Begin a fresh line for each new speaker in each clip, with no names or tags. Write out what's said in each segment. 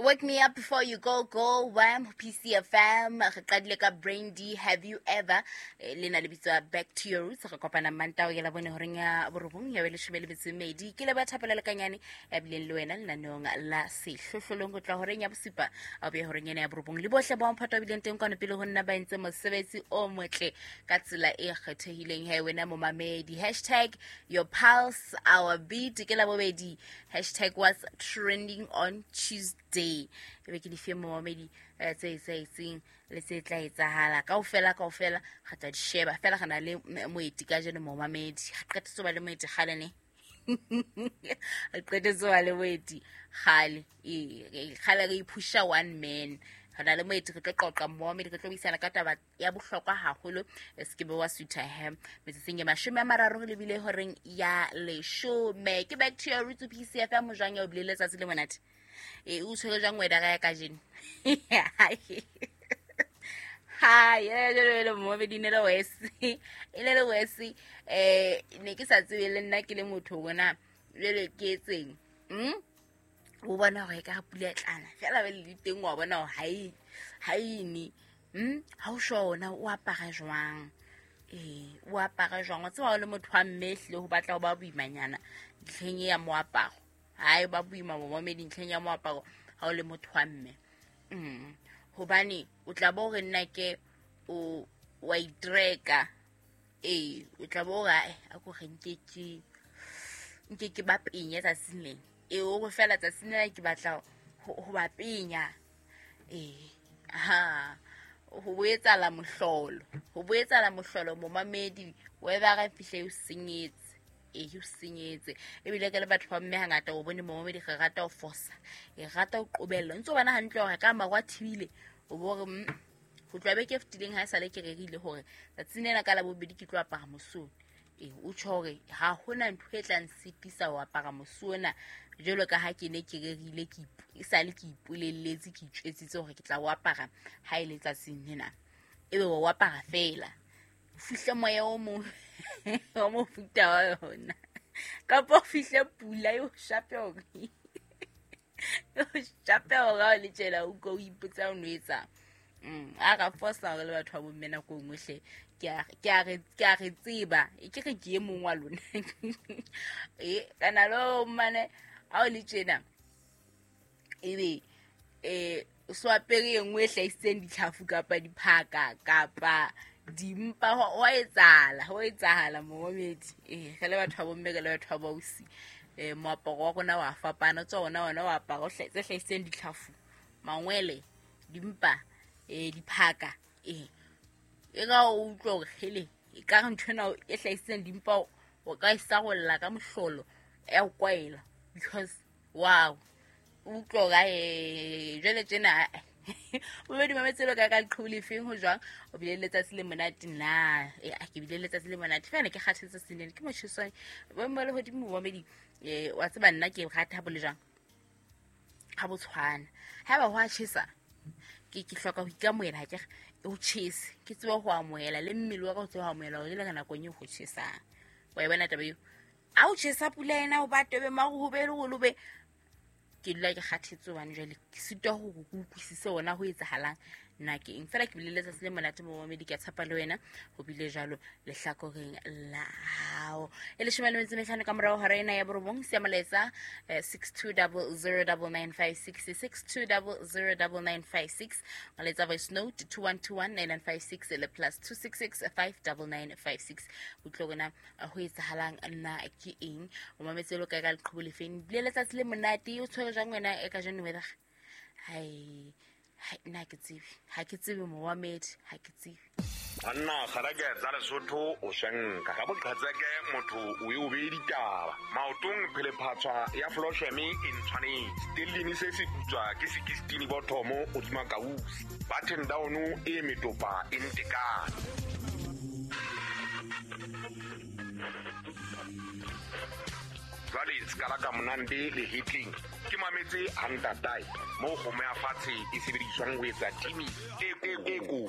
Wake me up before you go go wham PCFM re qadile ka Brain D have you ever eh, le na le bitswa back to your roots re kopana mantao ya labone horeng ya borobong ya beleshome le metso e mmedi ke le ba thapela lekanyane ya bileng le wena lenaneong la sehlohlolong go tla horeng ya bosupa a boya horeng ena ya borobong le bohle ba mphato ba bileng teng kwano pele ho nna ba entse mosebetsi o motle ka tsela e kgethehileng he wena momamedi hashtag your pulse our beat ke la bobedi hashtag was trending on tuesday e be ke di fe momamedi eh, tse etsahetseng le tse tla etsahala kaofela kaofela re tla di sheba fela re na le moeti ka jeno momamedi re qetetse ba le moeti gale ne re qetetse ba le moeti gale ee gale re iphusha one man re na le moeti re tlo qoqa momamedi re tlo buisana ka taba ya bohlokwa haholo e se ke be wa sutha he metsotsong e 30 re lebile horeng ya leshome ke back to your roots pcf mojwang ya o bile letsatsi le monate e o tshwere jwang wena ya kajeno ha ye momedi ne le wese e ne le wese um ne ke sa tsebe le nna ke le motho bona jale ke etseng mm? O bona gore e ka pula e tlana fela be le teng wa bona gore ga ene ga o sure ona o apara jwang ee o apara jwang wa tseba o le motho wa mme ehlile go batla go ba boimanyana ntlheng e ya moaparo ga e ba boima momamedi ntlheng ya moaparo ga o le motho wa mme gobane o tla bo gore nna ke o wa itreka ee o tla bo gore ae a ko re nke ke ba penya tsatsing lena ee o re fela tsatsing lena ke batla go ba penya ee ha go boetsala mohlolo go boetsala mohlolo momamedi weather e fihle o senyetse ee o senyetse ebile ke le batho ba mme hangata o bone momamedi re rata ho fosa e rata ho qobella ntse o bona hantle hore ka maru a thibile o bo re go tloa beke e fetileng ha e sale ke rerile gore tsatsing lena ka labobedi ke tlo apara mosone ee o tjho hore ha hona ntho e tlang sitisa ho apara mosi ona jwalo ka ha ke ne ke rerile ke e sale ke ipolelletse ke itjwetsitse hore ke tla o apara ha e le tsatsing lena ebe wa o apara fela o fihle moya o mong wa mofuta wa yona kapa o fihle pula e o shape hore shape hore ha o le tjela o ko o ipotsa o no etsang a ra fosa gore le batho ba bomme nako nngwe hle ke a re tseba e ke re ke e mongwe wa lona e kana lo mane a o le tjena ebe um so apere e nngwe e hlahisitseng ditlhafu kapa diphaka kapa dimpa wa etsahala ho etsahala momamedi ee re le batho ba bomme re le batho ba bausi um moaparo wa rona wa fapana o tswa ona ona o apara tse hlahisitseng ditlhafu mangwele dimpa um diphaka ee e ka o utlwa gore hele e ka re ntho ena e hlahisitseng dimpa o ka e sarolla ka mohlolo ya o kwaela because wow o utlwa gore ae jwale tjena bobedi mametselo ka ka leqhubu lefeng ho jwang o bile le letsatsi le monate na e a ke bile le letsatsi le monate fela ke kgathetse senene ke motjheswane boemo ba lehodimo momamedi um wa tseba nna ke rata ha bo le jwang ga bo tshwana ga ba go a chesa ke ke hloka go ikamoela ga ke o chese ke tsebe go amohela le mmele wa ka o tsebe go amohela gore le ka nakong e go chesang wa e bona taba eo a o chesa pula ena o ba tobe mago go be le go lobe ke dula ke kgathetse hobane jwale ke sitwa gore ke utlwisise ona ho etsahalang na ke eng fela ke bile letsatsi le monate momamedi ke a tshepa le wena go bile jalo lehlakoreng la hao e 15 ka morago hora ena ya borobong sia molaetsa 62009956 62009956 molaetsa voice note 21219956 le plus 266 59956 utlwe rona ho etsahalang na ke eng o mametse lo kae ka leqhubu lefeng bile letsatsi le monate o tshwere jang wena e ka jeno weather hai nna ke tsebe ha ke tsebe momamedi ha ke tsebe
banna kgareke tsa lesotho o shenka ka boqhetseke motho o e o beye ditaba maotong phelephatshwa ya flosheme e ntshwanetse tellini se se putswa ke sekistini bothomo godima kausi button down e metopa e ntekane jwale sekala ka monande le hitling ke mametse hantatae mo kgomo ya fatshe e sebediswang ho etsa timi e ko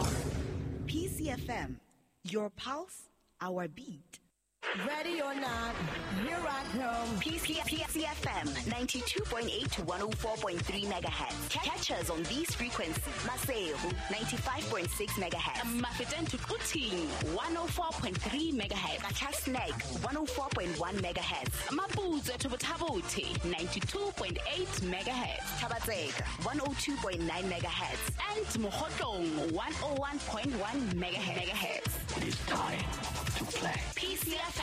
PCFM, your pulse, our beat. Ready or not, here I come.
PCFM 92.8 to 104.3 megahertz. Catch us on these frequencies. Maseru 95.6 megahertz.
Mafeteng to Quthing 104.3 megahertz.
Qacha's Nek 104.1 megahertz.
Maputswe to Botha-Bothe 92.8 megahertz.
Thaba-Tseka 102.9 megahertz.
And Mokhotlong 101.1 megahertz.
It is time to play.
PCFM.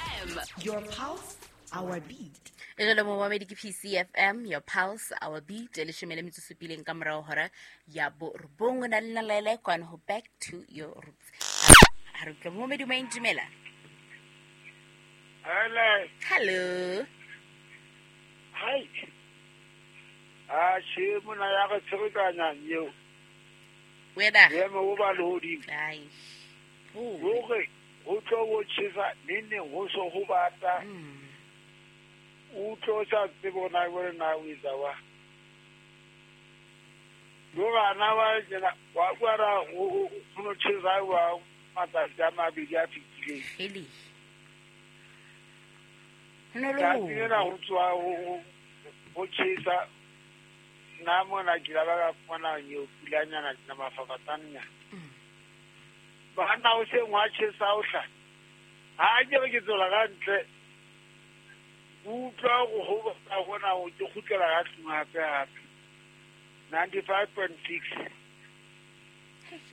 Your pulse, our beat.
E jalo momamedi ke PCFM, your pulse, our beat. Leshome le metso supileng ka morao hora ya borobong. Na le nna Laila kwano ho Back to Your Roots. Ha re utlwa momamedi o maintumela.
Hello.
Hello.
Hi. Ah, she mona ya re tsherekanya eo.
Wena.
Yema o ba le hodimo.
Ai.
Hore ho tlo ho tjhesa neng ho so ho bata. O tlo sa tsebo na bone na o etsa wa. Lo bana ba tsena wa kwara o no tjhesa wa matsatsi a mabedi a fitileng.
Ele. No
lo. Ka ho tswa ho tjhesa nna mona ke la ba fumana eo pulanyana na mafafatsanyana. Bana o se ngwa tjhesa o hla. Ha ke re ke tswela ka ntle. Utlwa go ba gona o ke kgutlela ka tlung hape hape. 95.6.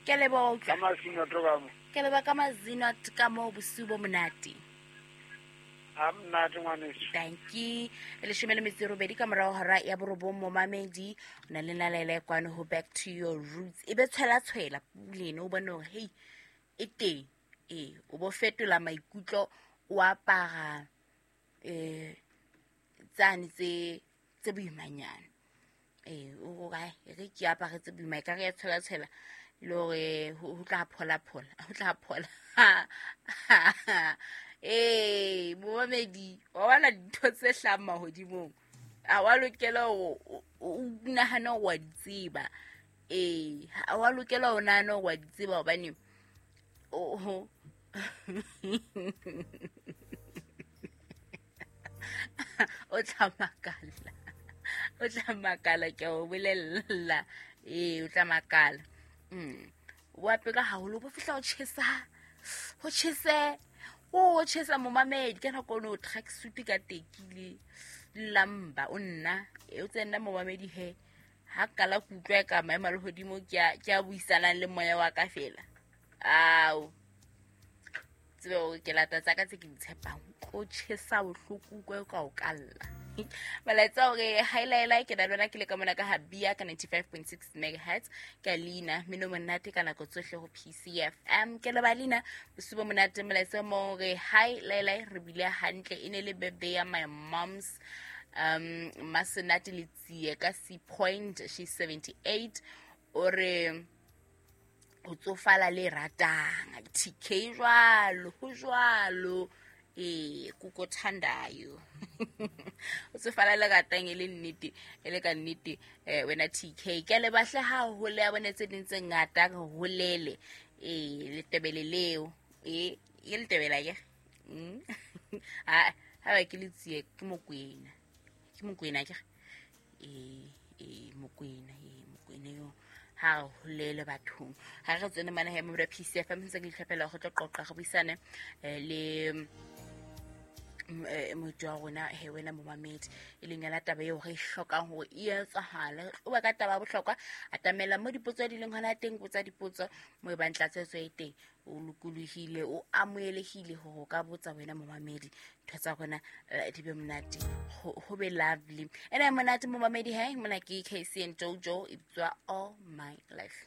Ke leboha.
Ka mazino to ka mo.
Ke leboha ka mazino ka mo bosiu bo monate.
Ha monate ngwaneso.
Thank you. Leshome le metso e robedi ka morao hora ya borobong momamedi. O na le nna Laila kwano ho Back to Your Roots. E be tshwela tshwela pulene o bone hore hey e teng. O bo fetola maikutlo o apara tsane tse boimanyana. O re re ke apare tse boima ka re ya tshwela tshwela le hore ho tla phola phola, ho tla phola. Momamedi wa bona dintho tse hlahang mahodimong. Ha wa lokela o nahana hore wa di tseba. Ha wa lokela o nahana hore wa di tseba hobane o o tla makala. O tla makala ke o bolella. O tla makala. O apeka haholo bo fihla o tjhesa. Ho tjhese. O tjhesa momamedi ka nako no track suit ka tekile lamba o nna o tsena momamedi he ha kala kutlwa ka maemo a lehodimo ke a buisanang le moya wa ka fela. Ao tsebe hore ke lata tsa ka tse ke di tshepang o tjhesa bohloko kwa ka o kalla. Molaetsa hore hi Laila ke na lona ke le ka mona ka Habia ka 95.6 megahertz ka leina mino monate ka nako tsohle ho PCFM. Ke le ba leina bosiu bo monate. Molaetsa mo hore hi Laila re bile hantle e ne le birthday ya my mom's Masenate Letsie ka C Point, she's 78. O re ho tsofala le ratang TK jwalo ho jwalo kuko thandayo. O tsofala le ratang e le nnete e le ka nnete wena TK ke le bahle ha ho le a bone tse ding tse ngata re holele letebele leo e letebela ke ha ha ke le tsie ke Mokwena ke Mokwena Mokwena yo ha holele bathong. Ha re tsene mana he mo PCFM ntse ke itlhophela go tlo qoqa go buisane le motho wa rona he wena momamedi e leng yona taba eo re e hlokang hore e etsahale. O ba ka taba ya bohlokwa atamela mo dipotso di leng hona teng, botsa dipotso mo e bang tlatsetso e teng. O lokolohile o amohelehile hore o ka botsa wena momamedi ntho tsa rona di be monate ho be lovely. Ena monate momamedi he mona ke KC and Jojo e bitswa All My Life.